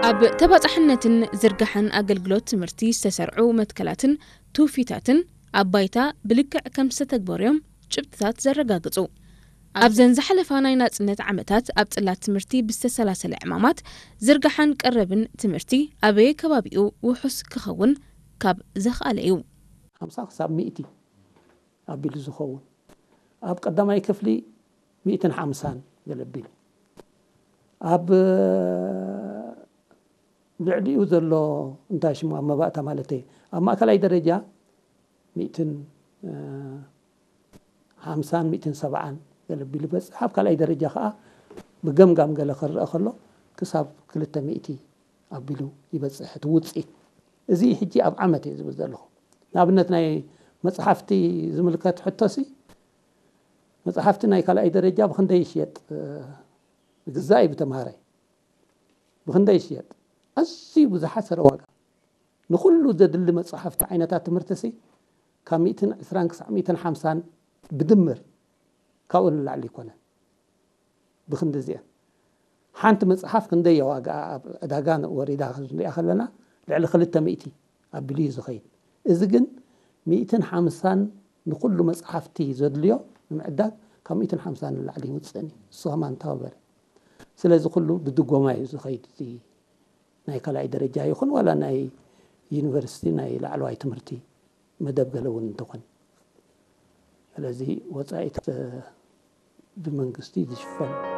ኣብ ተባጻሕነትን ዝርጋሐን ኣገልግሎት ትምህርቲ ዝተሰርዑ መትከላትን ትውፊታትን ኣብ ባይታ ብልክዕ ከም ዝተተግበሩ እዮም ጭብጥታት ዘረጋግጹ። ኣብዘን ዝሓለፋ ናይ ናጽነት ዓመታት ኣብ ጽላት ትምህርቲ ብዝተሰላሰለ ዕማማት ዝርጋሐን ቀረብን ትምህርቲ ኣበየ ከባቢኡ ውሑስ ክኸውን ካብ ዘኽኣለ እዩ። ሓምሳ ክሳብ ሚእቲ ኣቢሉ ዝኸውን፣ ኣብ ቀዳማይ ክፍሊ ሚእትን ሓምሳን ገለ ኣቢሉ፣ ኣብ ልዕሊኡ ዘሎ እንታይ ሽሙ ኣብ መባእታ ማለት ኣብ ማእከላይ ደረጃ ሚእትን ሓምሳን ሚእትን ሰብዓን ገለ ኣቢሉ ይበፅሕ። ኣብ ካልኣይ ደረጃ ከዓ ብገምጋም ገለ ክረአ ከሎ ክሳብ ክልተ ሚእቲ ኣቢሉ ይበፅሕ እቲ ውፅኢት። እዚ ሕጂ ኣብ ዓመት እየ ዝብል ዘለኹ። ንኣብነት ናይ መፅሓፍቲ ዝምልከት ሕቶሲ መፅሓፍቲ ናይ ካልኣይ ደረጃ ብክንደይ ይሽየጥ? ይግዛእ እዩ ብተምሃራይ ብክንደይ ይሽየጥ? ኣዝዩ ብዝሓሰረ ዋጋ ንኩሉ ዘድሊ መፅሓፍቲ ዓይነታት ትምህርቲ ሲ ካብ ሚእትን ዕስራን ክሳብ ሚእትን ሓምሳን ብድምር ካብኡ ንላዕሊ ይኮነን። ብክንዲ እዚአን ሓንቲ መፅሓፍ ክንደይ ዋጋ ኣብ ዕዳጋ ወሪዳ ክንሪኣ ከለና ልዕሊ ክልተ ሚእቲ ኣቢሉ እዩ ዝኸይድ። እዚ ግን ሚእትን ሓምሳን ንኩሉ መፅሓፍቲ ዘድልዮ ንምዕዳግ ካብ ሚእትን ሓምሳን ንላዕሊ ይውፅእን እዩ። እሱ ከማን ተባበረ። ስለዚ ኩሉ ብድጎማ እዩ ዝኸይድ። እዚ ናይ ካልኣይ ደረጃ ይኹን ዋላ ናይ ዩኒቨርሲቲ ናይ ላዕለዋይ ትምህርቲ መደብ ገለ እውን እንተኾነ፣ ስለዚ ወፃኢት ብመንግስቲ ዝሽፈን